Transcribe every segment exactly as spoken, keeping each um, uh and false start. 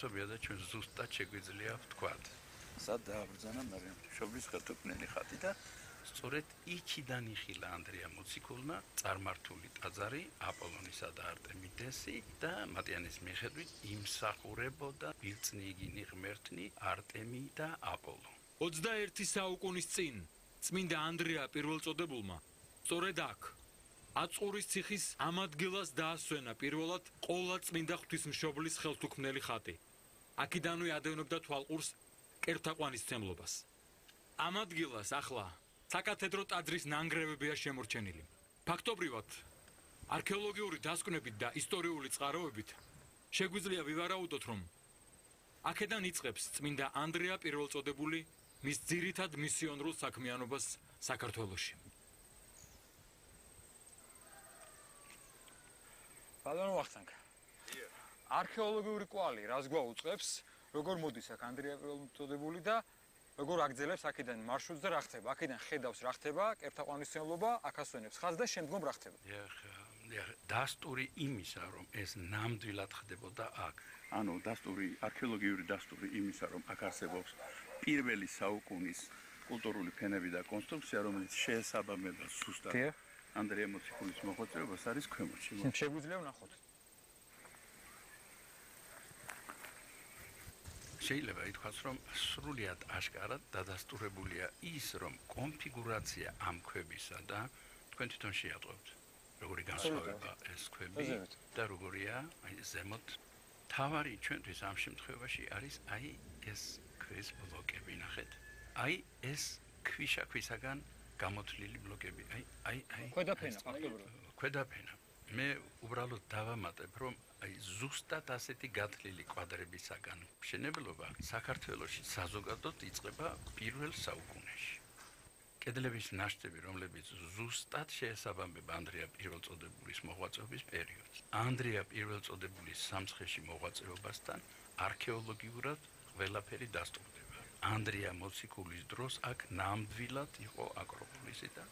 Sobiedę cię zusta შეგვიძლია ვთქვათ. სად დააბრძანა მარიამ ღვთისმშობლის ხელთუქმნელი ხატი და სწორედ იქიდან იხილა ანდრია მოციქულმა წარმართული ტაძარი აპოლონისა და არტემიდესი და მატიანის მიხედვით იმსახურებოდა ბილწნიგინი ღმერთნი არტემი და აპოლო. ოცდაერთი საუკუნის წინ წმინდა ანდრია პირველწოდებულმა სწორედ აქ აწურის ციხის ამ ადგილას დაასვენა პირველად ყოლა წმინდა ღვთისმშობლის ხელთუქმნელი ხატი. აქიდანვე ადევნებდა თვალყურს კერთაყვანისმცემლობას. ამ ადგილას ახლა საკათედრო ტაძრის ნანგრევებია შემორჩენილი. ფაქტობრივად, არქეოლოგიური დასკვნებით და ისტორიული წყაროებით შეგვიძლია ვივარაუდოთ, რომ აქედან იწყებს წმინდა ანდრია პირველწოდებული მის ძირითად მისიონერულ საქმიანობას საქართველოში. ბატონო ვახტანგ. არქეოლოგიური კვალი რას გვაუწყებს, როგორ მოდის აქ ანდრია პირველწოდებული და როგორ აგრძელებს აქედან მარშრუტს და რა ხდება? აქედან ხედავს რა ხდება, კერთაყვანისმცემლობა, აქ ასვენებს ხაზს და შემდგომ რა ხდება? დასტური იმისა, რომ ეს ნამდვილად ხდებოდა აქ. ანუ დასტური, არქეოლოგიური დასტური იმისა, რომ აქ არსებობს პირველი საუკუნის კულტურული ფენები და კონსტრუქცია, რომელიც შეესაბამება ზუსტად ანდრია მოციქულის მოღვაწეობას არის ქვემოთში. შეგვიძლია ვნახოთ. შეიძლება ითქვას, რომ სრულიად აშკარად დადასტურებულია ის, რომ კონფიგურაცია ამ ქვებისა და თქვენ თვითონ შეატყობთ, როგორი განსხვავება ეს ქვები და როგორია აი ზემოთ. თავარი ჩვენთვის ამ შემთხვევაში არის აი ეს ქვის ბლოკები, ნახეთ. აი ეს ქვიშაქვისაგან გამოთლილი ბლოკები. აი აი აი ქვედაფენა, ფაქტობრივად. ქვედაფენა. მე უბრალოდ დავამატებ, რომ აი ზუსტად ასეთი გათლილი კვადრებისაგან მშენებლობა საქართველოში საზოგადოდ იწყება პირველ საუკუნეში. კედლების ნაშთები, რომლებიც ზუსტად შეესაბამება ანდრია პირველწოდებულის მოღვაწეობის პერიოდს. ანდრია პირველწოდებულის სამცხეში მოღვაწეობასთან არქეოლოგიურად ყველაფერი დასტურდება. ანდრია მოციქულის დროს აქ ნამდვილად იყო აკროპოლისი და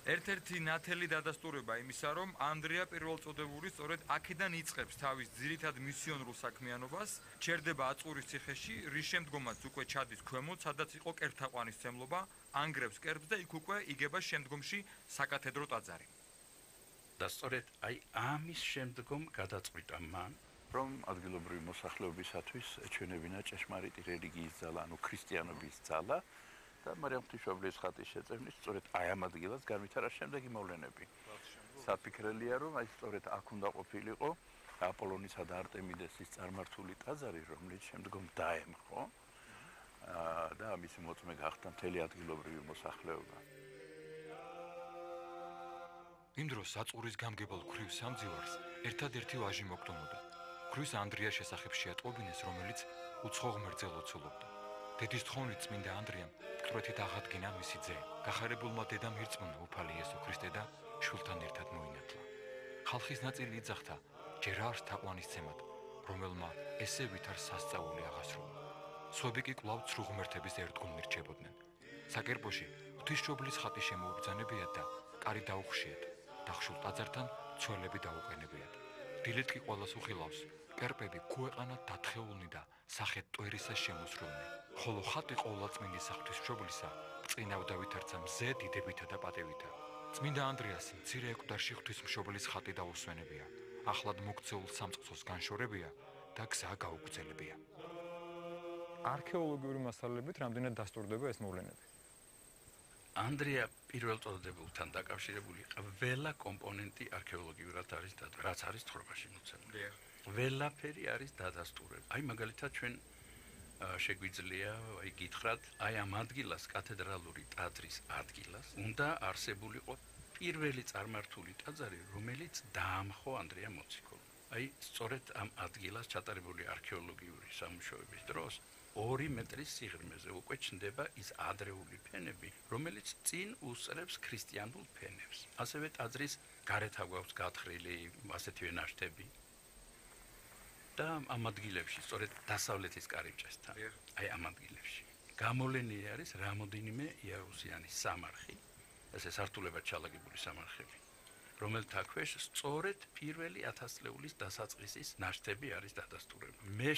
ერთ-ერთი ნათელი დადასტურება იმისა, რომ ანდრია პირველწოდებული სწორედ აქედან იწყებს თავის ძირითად მისიონერულ საქმიანობას, ჩერდება აწურის ციხეში, რის შემდგომაც უკვე ჩადის ქვემოთ, სადაც იყო კერთაყვანისმცემლობა, ანგრევს კერპს და იქ უკვე იგება შემდგომში საკათედრო ტაძარი. და სწორედ აი ამის შემდგომ გადაწყვიტა მან, რომ ადგილობრივი მოსახლეობისათვის ეჩვენებინა ჭეშმარიტი რელიგიის ძალა, ანუ ქრისტიანობის ძალა. და მარიამ ღვთისმშობლის ხატის შეწევნით სწორედ აი ამ ადგილას განვითარა შემდეგი მოვლენები. საფიქრელია, რომ აი სწორედ აქ უნდა ყოფილიყო აპოლონისა და არტემიდესის წარმართული ტაძარი, რომელიც შემდგომ დაემხო და ამის მოწმე გახდა მთელი ადგილობრივი მოსახლეობა. იმ დროს აწურის გამგებელ ქვრივ სამძივარს ერთადერთი ვაჟი მოგდომოდა. ქვის ანდრიას შესახებ შეატყობინეს, რომელიც უცხო ღმერთზე ლოცულობდა. დედის თხოვნით წმინდა ანდრიამ მკვეთრით აღადგინა მისი ძე. გახარებულმა დედამ ირწმუნა უფალი იესო ქრისტე და შვილთან ერთად მოინათლა. ხალხის ნაწილი იძახდა ჯერ არ თაყვანისცემად, რომელმა ესე ვითარ სასწაული აღასრულა. სხვები კი კვლავ ცრუ ღმერთების ერთგულნი რჩებოდნენ. საკერპოში ღვთისმშობლის ხატი შემოუბრძანებიათ და კარი დაუხშიათ. დახშულ ტაძართან ცველები დაუყენებიათ. დილით კი ყველას უხილავს. კერპები ქუეყანად დათხეულნი და სახეთ ტვერისას შემოსრულნი. ხოლო ხატი ყოვლადწმინდის ღვთისმშობლისა წინავდა ვითარცა მზე დიდებითა და პატევითა. წმინდა ანდრიას მცირე ეკვდარში ღვთისმშობლის ხატი დაუსვენებია. ახლად მოქცეულ სამწყსოს განშორებია და გზა გაუგრძელებია. არქეოლოგიური მასალებით რამდენად დასტურდება ეს მოვლენები? ანდრია პირველწოდებულთან დაკავშირებული ყველა კომპონენტი არქეოლოგიურად არის და რაც არის თხრობაში მოცემული. ყველაფერი არის დადასტურებული. აი მაგალითად ჩვენ შეგვიძლია აი გითხრათ, აი ამ ადგილას კათედრალური ტაძრის ადგილას უნდა არსებულიყო პირველი წარმართული ტაძარი, რომელიც დაამხო ანდრია მოციქულმა. აი სწორედ ამ ადგილას ჩატარებული არქეოლოგიური სამუშაოების დროს ორი მეტრის სიღრმეზე უკვე ჩნდება ის ადრეული ფენები, რომელიც წინ უსწრებს ქრისტიანულ ფენებს. ასევე ტაძრის გარეთ აგვაქვს გათხრილი ასეთივე ნაშთები. და ამ ადგილებში, სწორედ დასავლეთის კარიბჭესთან, აი ამ ადგილებში გამოვლენილი არის რამოდენიმე იარუსიანი სამარხი, ესე სართულებად ჩალაგებული სამარხები, რომელთა ქვეშ სწორედ პირველი ათასწლეულის დასაწყისის ნაშთები არის დადასტურებული. მე